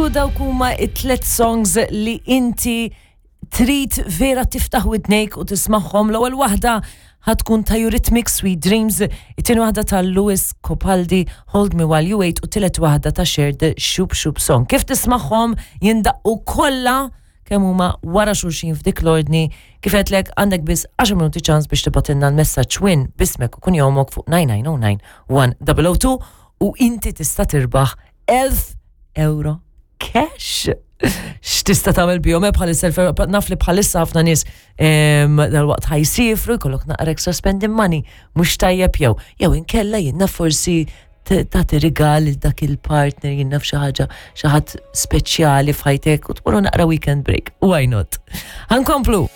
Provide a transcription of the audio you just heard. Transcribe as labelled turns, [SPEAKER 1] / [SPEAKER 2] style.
[SPEAKER 1] U dawk huma it-tlet songs li inti trid vera tiftaħ widnejk u tismagħhom. L-ewwel waħda ħatkun ta' Eurythmics Sweet Dreams, it-tieni waħda ta' Lewis Capaldi Hold Me While You Wait u tielet waħda ta' Cher The Shoop Shoop Song. Kif tismagħhom jindaqqu kollha kemm huma wara xulxin f'dik l-ordni, kif għedtlek għandek biss 10 minuti ċans biex tibgħatilna l-messaġġ win b'ismek u kunjomok fuq 9909 1002 u inti tista' tirbaħ 1000 euro cash. X'tista' tagħmel bihom eh, bħalissa naf li bħalissa ħafna nies dal-waqt ħajsifru jkollok naqra extra spending money mhux tajjeb jew jew inkella jien naf forsi tagħti rigal lil dak il-partner jien naf xi ħaġa xi ħadd speċjali f'ħajtek u tmorru naqra weekend break. Why not? Ħankomplu.